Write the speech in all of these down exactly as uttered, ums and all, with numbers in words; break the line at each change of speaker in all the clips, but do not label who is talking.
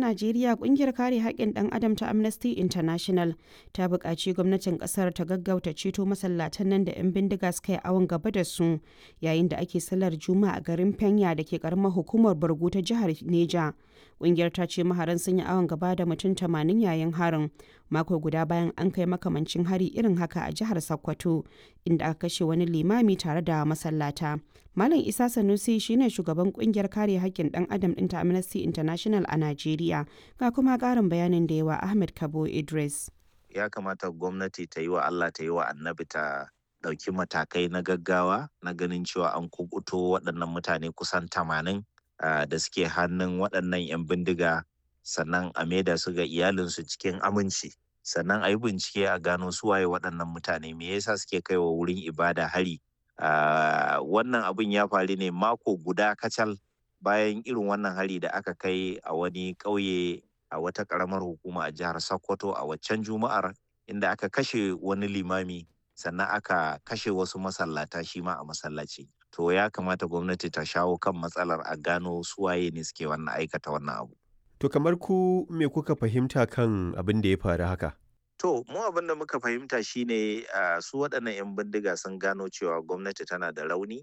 Najeriya, kungiyar kare haƙƙin ɗan adam ta Amnesty International ta buƙaci gwamnatin ƙasar ta gaggauta ceto masallatan nan da 'yan bindiga suka yi awon gaba da su yayin da ake sallar Juma'a a garin Fenya da ke ƙaramar hukumar Bargu ta jihar Neja. Kungiyar ta ce maharan sun yi awon gaba da mutum tamanin yayin harin, mako guda bayan an kai makamancin hari irin haka a jihar Sokoto, inda aka kashe wani limami tare da masallata. Malam Isa Sanusi shine shugaban kungiyar kare haƙƙin ɗan adam ɗin ta Amnesty International a Najeriya. Ga kuma ƙarin bayanin da yawa Ahmed Kabo Idris.
Ya kamata gwamnati ta yi wa Allah ta yi wa annabi ta ɗauki matakai na gaggawa na ganin cewa an kukuto waɗannan mutane kusan tamanin da suke hannun waɗannan 'yan bindiga, sannan a maida su ga iyalinsu cikin aminci, sannan a yi bincike a gano su waye waɗannan mutane, me yasa suke kaiwa wurin ibada hari. Uh, wannan abin ya faru ne mako guda kacal bayan irin wannan hari da aka kai a wani ƙauye a wata ƙaramar hukuma a jihar Sokoto a waccan Juma'ar, inda aka kashe wani limami, sannan aka kashe wasu masallata shi ma a masallaci. To ya kamata gwamnati ta shawo kan matsalar, a gano su waye ne suke wannan aikata wannan abu.
To kamar ku me kuka fahimta kan abin da ya faru haka?
To, mu abin da muka fahimta shine uh, su waɗannan 'yan bindiga sun gano cewa gwamnati tana da rauni,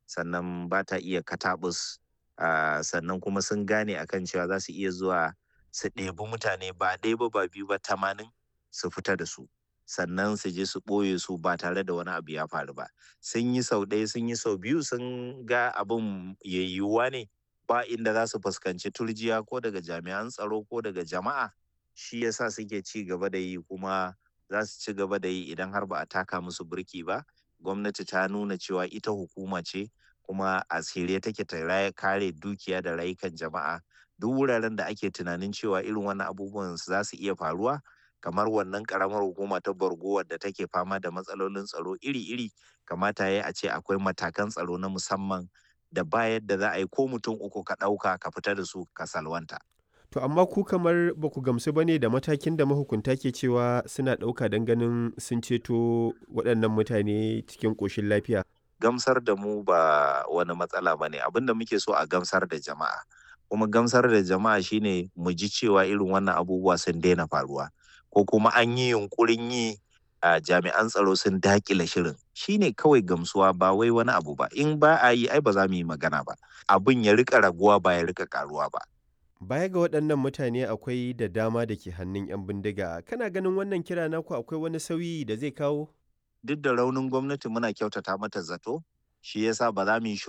sannan ba ta iya katabus, uh, sannan kuma sun gane akan cewa za su iya zuwa su ɗebi mutane ba ɗaya ba ba biyu ba, tamanin, su fita da su. Sannan su je su ɓoye su ba tare da wani abu ya faru ba. Sun yi sau ɗaya, sun yi sau biyu, sun ga abin yiwuwa ne, ba inda za su fuskanci turjiya ko daga jami'an tsaro ko daga jama'a. Shi yasa suke ci gaba da yi, kuma za su ci gaba da yi idan har ba a taka musu birki ba. Gwamnati ta nuna cewa ita hukuma ce, kuma a shirye take ta kare dukiya da rayukan jama'a. Duk wuraren da ake tunanin cewa irin wannan abubuwan za su iya faruwa, kamar wannan karamar hukuma ta Borgo wadda take fama da matsalolin tsaro iri-iri, kamata ya a ce akwai matakan tsaro na musamman da ba yadda za a yi ko mutum uku ka ɗauka ka fita da su ka salwanta.
To amma ku kamar ba ku gamsu ba ne da matakin da mahukunta ke cewa suna ɗauka don ganin sun ceto waɗannan mutane cikin ƙoshin lafiya.
Gamsar da mu ba wani matsala ba ne, abin da muke so a gamsar da jama'a. Kuma gamsar da jama'a shine mu ji cewa irin wannan abubuwa sun daina faruwa, ko kuma an yi yunƙurin yi a jami'an tsaro sun daƙile shirin. Shine kawai gamsuwa, ba wai wani abu ba. In ba a yi, ai ba za mu yi magana ba. Abin ya riƙa raguwa, ba ya riƙa ƙaruwa ba.
Baya ga waɗannan mutane, akwai da dama da ke hannun 'yan bindiga. Kana ganin wannan kira naku akwai wani sauyi da zai kawo?
Duk da raunin gwamnati, muna kyautata mata zato, shi yasa ba za mu yi shiru.